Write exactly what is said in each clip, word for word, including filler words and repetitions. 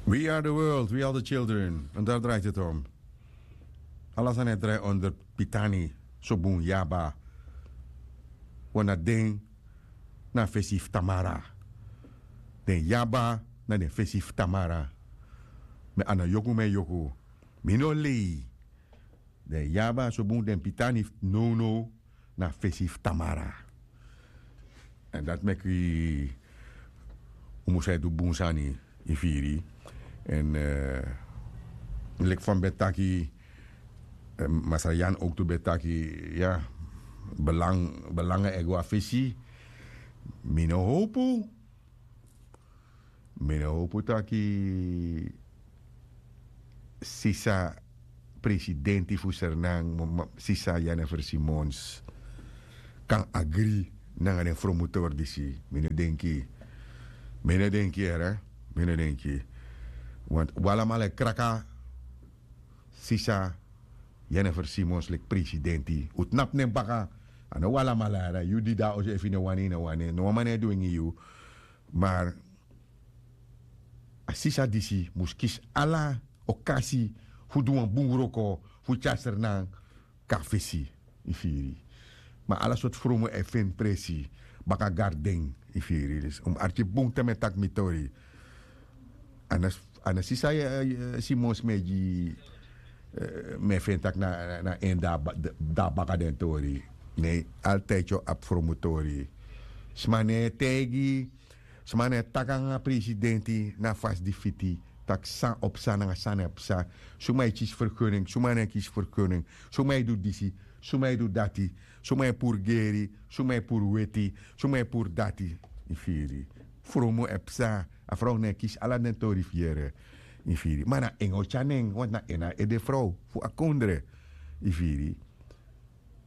We are the world, we are the children. En daar draait het om. Ala sani e drai onder pitani, sobun yaba. Wan na den na fesi fu tamara. Den yaba na den fesi fu tamara. Mi a no yoku, mi e yoku. Mi no lei. Den yaba, sobun, den pitani fu nownow na fesi fu tamara. Èn dati meki un mus e du bun sani, yu firi. Èn leki fa mi ben taki, masra Yan owktu ben taki, ya, belanga e go na fesi. Mi no howpu. Mi no howpu taki sisa presidenti fu Sernan, sisa Jennifer Simons, kan agri nanga den fromutori disi. Mi no denki. Mi no denki, here. Mi no denki. Want un alamala e kraka sisa Jennifer Simons leki presidenti. Un tnapu nen baka. A no un alamala, here. Yu di de na oso, efu yu no wani, yu no wani. No wan man no e du en gi yu. Maar a sisa disi mus kisi ala okasi fu du wan bun wroko fu tyari Sernan kon na fesi, yu firi. Ma ala sortu fromu e feni presi baka garden, yu firi. Dus un mus arki bun te mi e taki mi tori. A no sisa Simons mi e gi, mi e feni taki na en de na baka den tori. Nee, altijd yu abi fromutori. Sma no e taigi, sma no e taki nanga presidenti na fasi di fiti, taki san o psa nanga san no e psa. Suma e kisi vergunning, suma no e kisi vergunning, suma e du disi, suma e du dati, suma e puru geri, suma e puru weti, suma e puru dati. Yu firi. Fromu e psa. A frow no e kisi ala den tori fu yere. Yu firi. Ma na en o tyari nen, want na en na ede frow fu a kondre. Yu firi.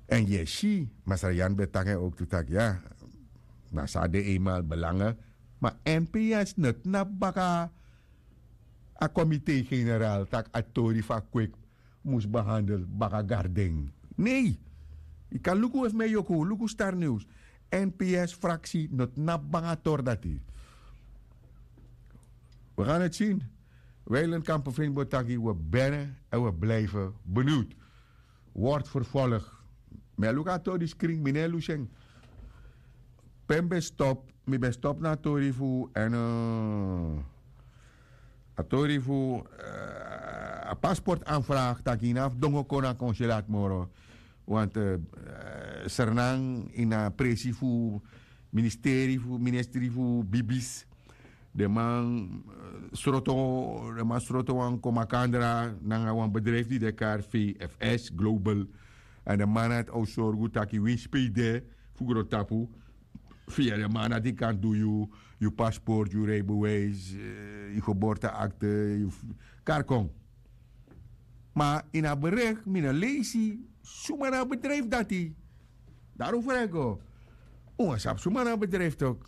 Èn yu e si, masra Yan ben taki en owktu taki, ya, na so a de eenmaal, belanga. Ma N P S no tnapu baka a komite generaal taki a tori fu a kwik mus behandel baka garden. Nee. Yu kan luku, efu mi e yoku, luku Star News. N P S fraksi no tnapu baka a tori dati. We gaan het zien. Wijlen Kampenveen ben taki, we benen en we blijven benieuwd. Wordt vervolgd. Mi e luku a tori disi krin, mi no e lusu en. Pe mi ben stop, mi ben stop na a tori fu, èn a tori fu a paspoort aanvraag, taki yu no abi fu dongo kon na konsulaat moro. Want Sernan ini a presi fu ministeri fu, ministri fu bibis. Den man sroto, den man sroto wan kon makandra nanga wan bedrijf di de kari V F S Global. Èn den man na o sorgu taki winsi pe yu de fu grontapu, via den man dati kan du yu, yu paspoort, yu rijbewijs, yu geboorteakte, yu kari kon. Ma ini a bericht mi no leisi suma na a bedrijf dati. Daarom vraag ik o. Un wani sabi suma na a bedrijf toch.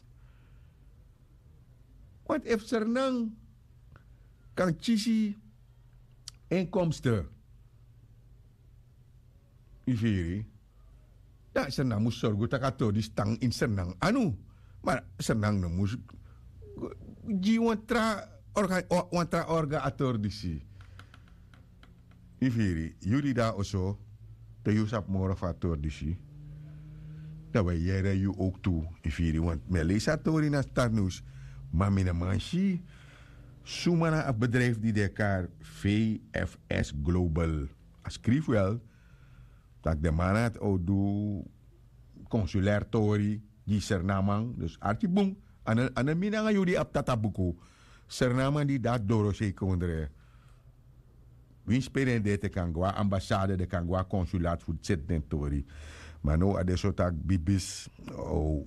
Want efu Sernan kan kisi inkomsten, yu firi, dan Sernan mus sorgu taki a tori disi tan ini Sernan anu. Ma Sernan no mus gi wan tra orga, wan tra orga a tori disi. Yu firi, yu di de na oso, te yu sabi moro fu a tori disi, dan wi e yere yu owktu, yu firi. Want mi e leisi a tori na Star News, ma mi no man si suma na a bedrijf di den e kari V F S Global. A skrifi wel taki den man na o du konsulair tori gi Sernaman. Dus arki bun, a no mi nanga yu di abi tata buku. Sernaman di de na dorosei kondre. Winsi pe den de, den kan go na ambassade, den kan go na konsulaat fu seti den tori. Ma now a de so taki bibis o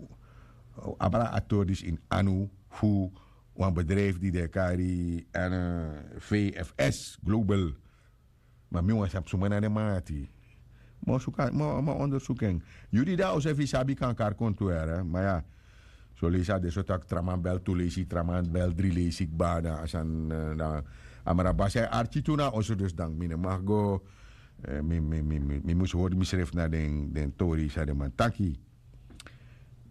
abi a tori disi ini anu fu wan bedrijf di den e kari V F S Global. Ma mi wani sabi suma na den man dati. Mi o ondersuku en. Yu di de na oso, efu yu sabi, kan kari kon tu, here. Ma ya, son leisi a de so taki tra man bel tu leisi, tra man bel dri leisi kba, dan a sani, dan a mara basi e arki tu na oso, dus dan mi no man go, mi mus hori misrefi na den tori san den man taki.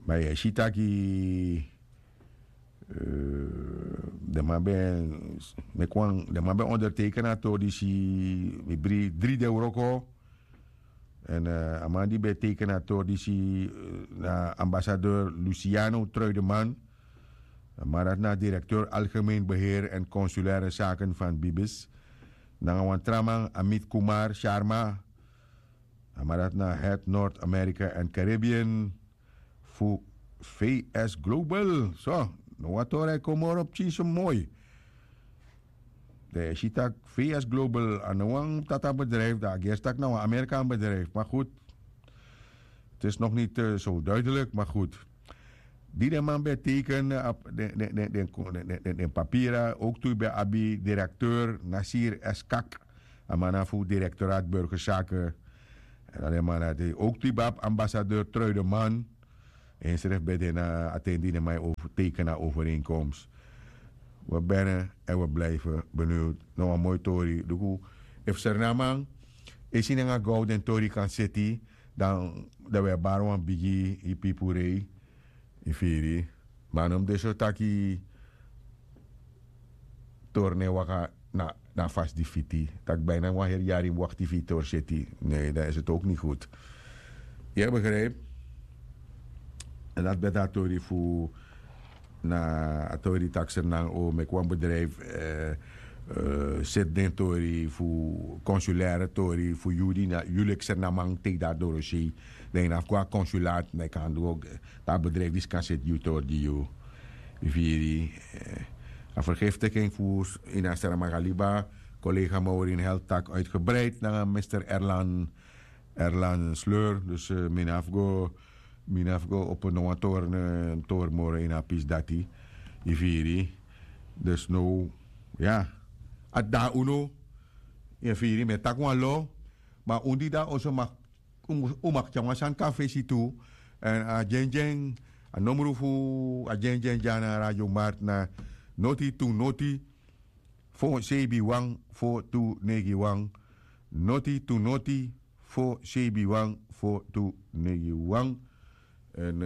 Ma yu e si taki Den man ben meki wan den man ben onderteken a tori disi, mi bri dri den wroko. En a man di ben teken a tori disi na ambasadeur Luciano Truideman. A man dati na direkteur algemeen beheer en consulaire zaken van Bibis. Nanga wan tra man, Amit Kumar Sharma. A man dati na head North America en Caribbean fu V S Global. So, no wan tori e kon moro pikin so moi. Dan e si tak' V S Global a no wan tata bedrijf, dan a gersi tak' na wan Amerikaan bedrijf. Maar goed, het is nog niet zo duidelijk, maar goed. Di den man ben teken den papira, ook tu ben abi directeur Nasir Eskak, a man na fu directoraat burgerzaken. En a den man na de ook tu ben abi ambassadeur Truideman. En sref ben den na atendi den man e teken a overeenkomst. We benen en we blijven benieuwd na wan moi tori duku. Efu Sernaman e si nanga gou den tori kan seti, dan dan we bari wan bigi yu pipurei. Yu firi? Ma a no mus de so taki tori no e waka na na a fasi di fiti, tak' bina wan heri yari mus wakti fu yu tori seti. Ne dan isi tok ni gud. Yu e begripi? En dati ben de a tori fu na a tori di tak' Sernan o meki wan bedrijf seti den tori fu konsulaire tori fu yu di na yu leki Sernaman teki dati dorosei. Dan yu no abi go na konsulaat, dan yu kan du go na a bedrijf disi kan seti yu tori gi yu. Yu firi? A vergiftiking fu ini a Sernaman kaliba. Kolega Maurin Held taki uitgebreid nanga mister Erlan Erlan Sleur. Dus mi no abi go mi no abi go opo no wan tori tori moro ini a pisi dati. Yu firi? Dus now ya, a dati na unu. Yu firi? Mi e taki wan lo. Ma un di de na oso maki un maki tyari wan sani kon na fesi tu. Èn a dyendyen a nomru fu a dyendyen dya na radio marti na noti tu noti fo seibi wan fo tu neigi wan. Noti tu noti fo seibi wan fo tu neigi wan. Èn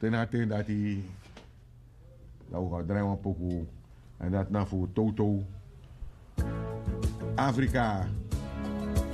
te na a ten dati dan un go drai wan poku. Èn dati na fu towtow afrika.